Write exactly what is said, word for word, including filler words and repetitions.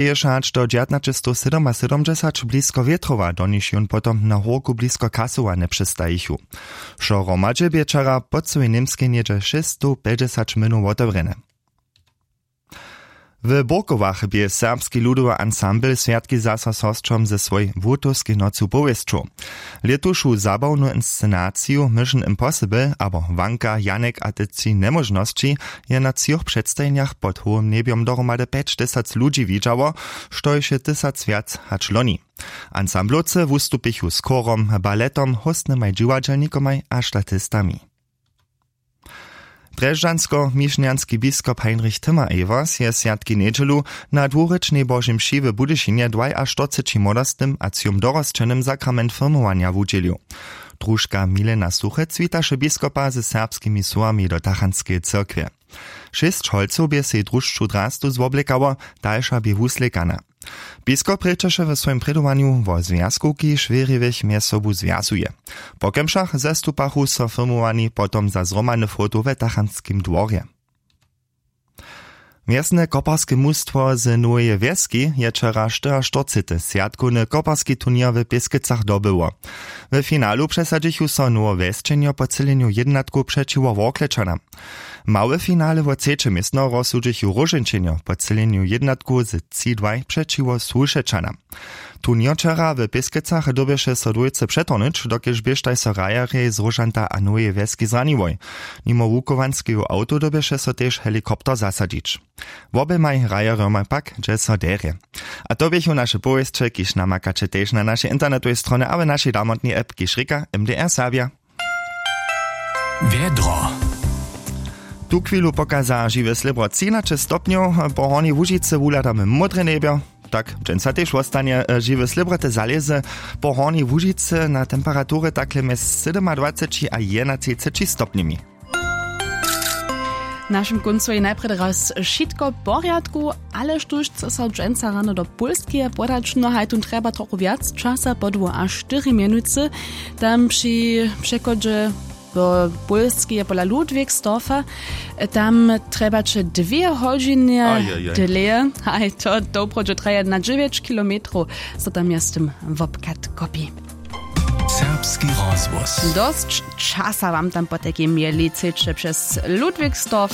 Běše hač do dźewjatnaćestowsydomasydomdźesać blisko wětrowa, do nichž jón potom na hórku blisko kasowa njepřestajichu. Wšo hromadźe bě wčera po cyłej němskej něhdźe šěsćstowpjećdźesać młynow wotewrjene. W burkowach bě serbski ludowy ansambl swjatki zaso z hosćom ze swojej wutowskej nocu powěsćow. Lětušu zabawnu inscenaciju mission impossible abo wanka janek a te tři njemóžnosći je na třoch předstajenjach pod hołym njebjom dohromady pjećtysac ludźi widźało, štož je tysac wjac hač loni. Ansamblowcy wustupichu z chórom, baletom, hóstnymaj dźiwadźelnikomaj a statistami. Drježdźansko-mišnjanski biskop heinrich timmer-evers je swjatki njedźelu na dwurěčnej božej mši w budyšinje dwajaštyrceći młodostnym a třom dorosćenym sakrament firmowanja wudźělił. Družka milena suchec witaše biskopa ze serbskimi słowami do tachantskeje cyrkwje. Šěsć holcow bě sej drušću drastu zwoblěkało, dalša bě wuslěkana. Biskop rěčeše w swojim prědowanju wo zwjazku kiž wěriwych mjez sobu zwjazuje. Po kemšach zestupachu so firmowani potom za zhromadny foto we tachantskim dworje. Mjezne koparske mustwo z noweje wjeski je wčera štyriaštyrcety swjatkowny koparski turněr w pěskecach dobyło. W finalu přesadźichu so nowowjesćenjo po třělenju jědnatkow přećiwo worklečanam. Małe finale wo třeće městno rozsudźichu róžeńčenjo po třělenju jědnatkow z tři dwaj přećiwo słušečanam. Turněr wčera w pěskecach dyrbješe so dwójce přetohnyć dokelž běštaj so hrajerjej z róžanta a noweje wjeski zraniłoj. Nimo wuchowanskeju awtow dyrbješe so tež helikopter zasadźić. Woběmaj hrajerjomaj pak dźe so derje. A to běchu naše powěsće kiž namakaće tež na našej internetowej stronje a w našej damotnej app kiž rěka mdr serbja. Wjedro. Tuchwilu pokaza žiwe slěbro třinaće stopnjow. Po hornjej łužicy wuhladamy módre njebjo. Tak dźensa tež wostanje. Žiwe slěbro te zalězy po hornjej łužicy na temperatury takle mjez sydomadwaceći a jedenatřiceći stopnjemi. W našim kóncu je najprjedy raz wšitko w porjadku, ale štóž chce so dźensa rano do pólskeje podać? No haj tón trjeba trochu wjac časa podłu a štyri mjenucy. Tam při přechodźe do pólskeje pola ludwigsdorfa tam trjebaće dwě hodźiny. Dlěje haj to doprawdźe traja na dźewjeć kilometrow. Zo tam je z tym wobkat kopi. Serbski rozhłos. Dosć časa wam tam potajkim je liceće přez ludwigsdorf.